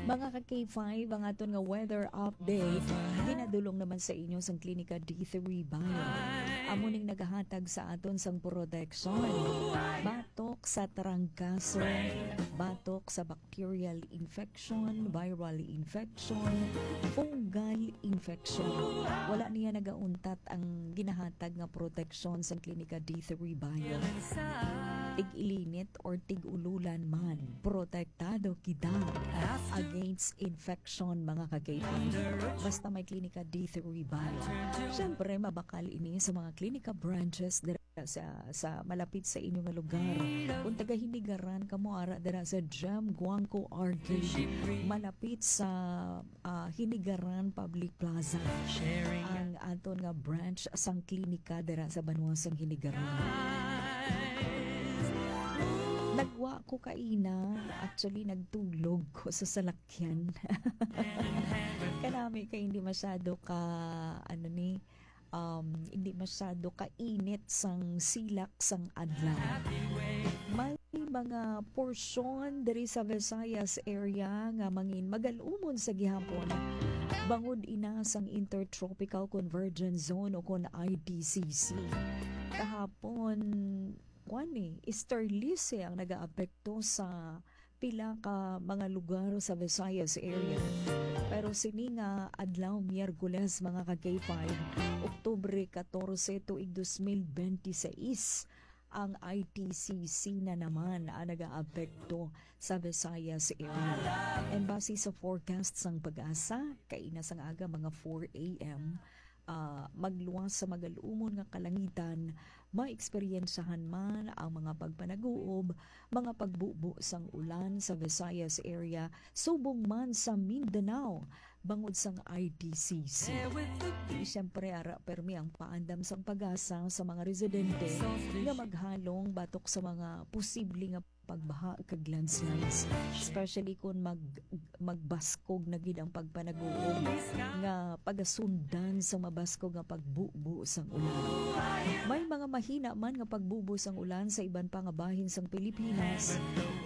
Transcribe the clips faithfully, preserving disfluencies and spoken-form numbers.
Mga ka K five, ang aton nga weather update ginadulong naman sa inyo sang Klinika D three Bio. Amo ning nagahatag sa aton sang proteksyon batok sa trangkaso, batok sa bacterial infection, viral infection, fungal infection. Wala niya nagauntat ang ginahatag nga proteksyon sang Klinika D three Bio. Tig-ilinit or tig-ululan man, protektado kita against infection, mga ka-K five. Basta may Klinika D three Bio. Siyempre, mabakal ini sa mga Klinika branches dira sa, sa malapit sa inyo nga lugar. Kung taga Hinigaran kamo, ara dira sa Gem Guangco Arcade, malapit sa, ah, Hinigaran Public Plaza, ang aton nga branch sang klinika dira sa banwa sang Hinigaran. Nagwa ko kaina, actually nagtulog ko sa salakyan. Kanami kay hindi masyado ka, ano ni, um, hindi masyado kainit sang silak sang adlaw. May mga porsyon diri sa Visayas area nga mangin magalumon sa gihapon bangod ina sang Intertropical Convergence Zone o kon I T C C. Kahapon, kuan ni, easterlies ang nagaapekto sa pila ka mga lugar sa Visayas area. Pero sini nga adlaw, Miyerkules, mga ka K five, Oktubre katorse, tuig dos mil benti seis, ang I T C C na naman ang nagaapekto sa Visayas area. And base sa forecast sang PAGASA, kaina sang aga, mga four A M, ah, magluwas sa magalumon nga kalangitan, maeksperiensyahan man ang mga pagpanaguob, mga pagbubo sang ulan sa Visayas area, subong man sa Mindanao, bangod sang I T C C. Di siyempre ara permi ang paandam sang PAGASA sa mga residente nga maghalong batok sa mga posible nga pagbaha kag landslides, especially kung mag-, magbaskog na gid ang pagpanaguob nga pagasundan sa mabaskog nga pagbubo sang ulan. May mga mahina man nga pagbubo sang ulan sa iban pa nga bahin sang Pilipinas,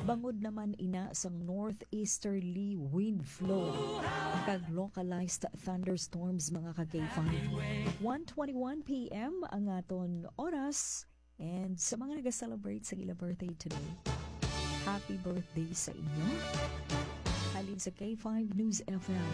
bangod naman ina sang northeasterly wind flow kag localized thunderstorms, mga ka K five. One twenty-one P M ang aton oras. And sa mga nag-celebrate sa ilang birthday today, happy birthday sa inyo. Halin sa K five News F M.